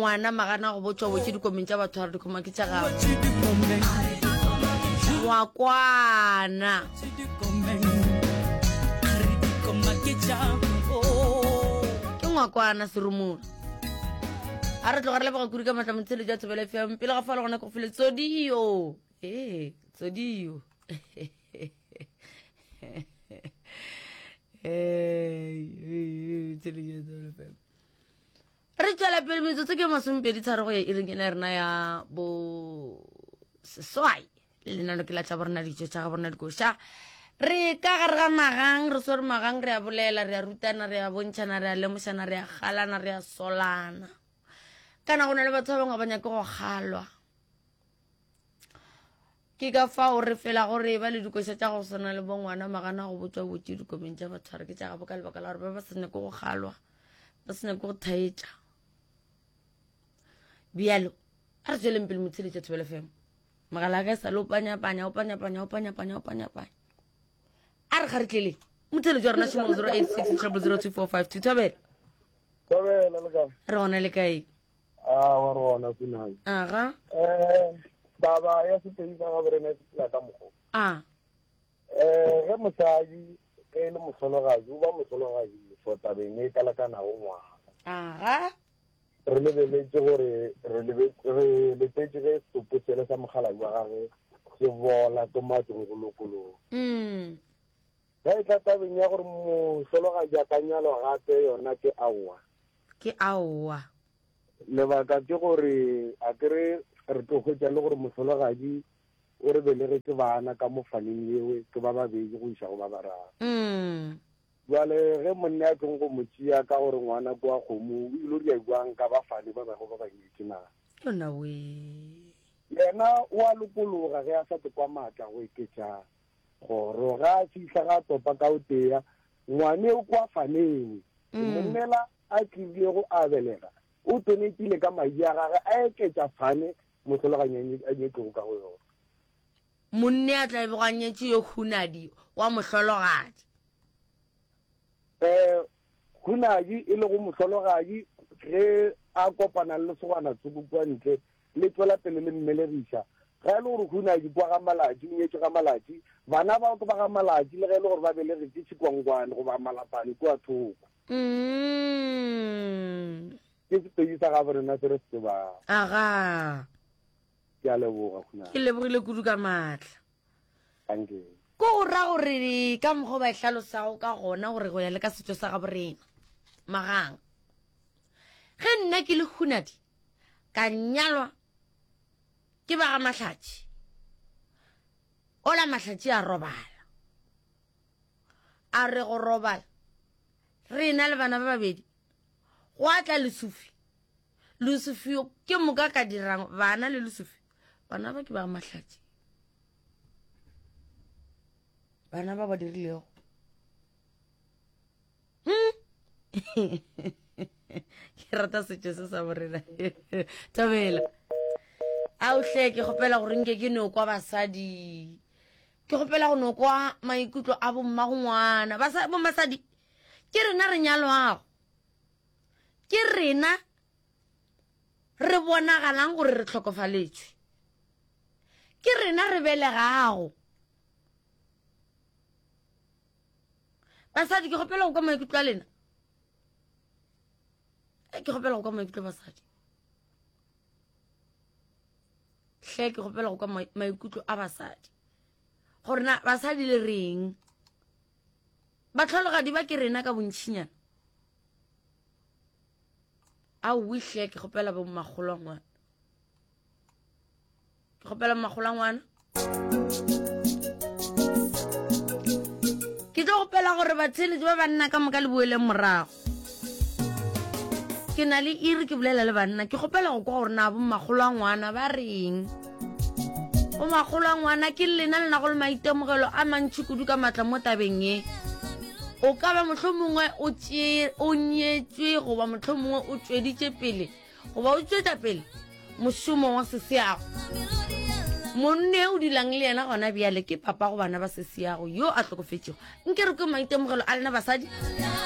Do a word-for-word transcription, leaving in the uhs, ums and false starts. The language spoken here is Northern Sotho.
Ngwana magana go botšwa botše dikomeng tša batho a re dikoma ke tša gagwe. Ngwakwana. Ke ngwakwana serumula. A re tloga re leboga kudu ka matla motsheletši wa Thobela F M. Pele ga fao le gona ke go file Tsodio. Ee, Tsodio. Re tšwela pele metsotso ke masomepedi tharo go ya iring ena ya rena ya bo seswai. Lenano ke la tša borena ditšo tša ga borena dikoša. Re ka gare ga magang, re swere magang, re a bolela, re a rutana, re a bontšhana, re a lemošana, re a galana, re a solana. Kana go na le batho ba bangwe ba nyake go galwa. Ke ka fao re fela gore ba le dikoša tša go swana le bongwana magana go botšwa botše dikomeng tša batho re ke tša gabo ka lebaka la gore ba ba se nyake go galwa, ba se nyake go thaetša. Bjalo, a re tsweleng pele motsheletša Thobela F M. Mogala ka sa le o panyapanya, o panyapanya, o panyapanya, o panyapanya. A re kgaritleleng. Motheletši wa rena šomo zero eight six triple zero two four five two. Thobela. Thobela le kae? Re gona le kae? Ah, wa re gona Funai. Aga. Eh, taba ya sepedi sa gabo rena se phela ka mokgwa. Ah. Eh, ge mosadi ge e le mohlologadi, o ba mohlologadi for tabeng e kalakanago ngwana. Aga. Re lebeletše gore re lebe-, re letetše ge setopo sele sa mokgalabje wa gagwe se bola ke matlong go lokologa. Mm. Ge e tla tabeng ya gore mohlologadi a ka nyalwa gape yona ke aowa. Ke aowa. Lebaka ke gore a kere re tlo hwetša le gore mohlologadi o re belegetše bana ka mo faneng yewe ke ba babedi go iša go ba bararo. Mm. Jwale ge monna a tlong go mo tšea ka gore ngwana kwa kgomo o ile ria jwang ka ba fane ba bangwe ba ba nyetše na? Yona we. Yena o a lokologa ge a sa tlo kwa maatla go eketša kgoro. Ga a fihla ga topa ka o tea ngwane o kwa faneng. Mm. Monnela a tlilego a belega o tonetile ka madi a gagwe a eketša fane mohlologadi a nyetšego ka go yona. Monne a tla bego a nyetše yo Hunadi wa mohlologadi. Eh, Hunadi e lego mohlologadi ge a kopana le lesogana tsoko kua ntle le tswela pele le mmelegiša. Ge e le gore Hunadi kwa ga Malatši, o nyetše ga Malatši, bana bao ke ba ga Malatši le ge e le gore ba belegetše Tshikwangwane goba Malapane kua thoko. Mm. Ke sepedi sa gabo rena se re se tsebang. Aga. Ke a leboga, Hunadi. Ke lebogile kudu ka maatla. Thank you. Ko go ra gore ka mokgwa ba e hlalosago ka gona gore go ya le ka setšo sa gabo rena magang. Ge nna ke le Hunadi ka nyalwa ke ba ga Mahlatši. Ola Mahlatši a robala. A re go robala rena le bana ba babedi go a tla Lesufi. Lesufi yo ke moka ka dirang bana le Lesufi. Bana ba ke ba Mahlatši. Bana ba ba dirilego. Hmm? Ke rata setšo se sa borena. Thobela. Ao hle ke kgopela gore nke ke no kwa basadi. Ke kgopela go no kwa maikutlo a bomma go ngwana. Basa-, bommasadi, ke rena re nyalwago. Ke rena re bonagalang gore re hlokofaletšwe. Ke rena re belegago. Basadi, ke kgopela go kwa maikutlo a lena. Eh, ke kgopela go kwa maikutlo a basadi. Hle, ke kgopela go kwa mai-, maikutlo a basadi. Gore na basadi le reng? Bahlologadi ba ke rena ka bontšinyana. Aowi hle, ke kgopela bo mmakgolo wa ngwana. Ke kgopela mmakgolo wa ngwana. Ke tlo kgopela gore batheeletši ba banna ka moka le boeleng morago. Ke na le iri ke bolela le banna, ke kgopela go kwa gore na bo mmakgolo wa ngwana ba reng. Bo makgolo a ngwana ke lena le nago le maitemogelo a mantši kudu ka matla mo tabeng ye. O ka ba mohlomongwe o tšee, o nyetšwe goba mohlomongwe o tšweditše pele goba o tšwetša pele mošomo wa seseago. Monne o dulang le yena gona bjale ke papa go bana ba seseago yo a hlokofetšego. Nke re kwe maitemogelo a lena basadi.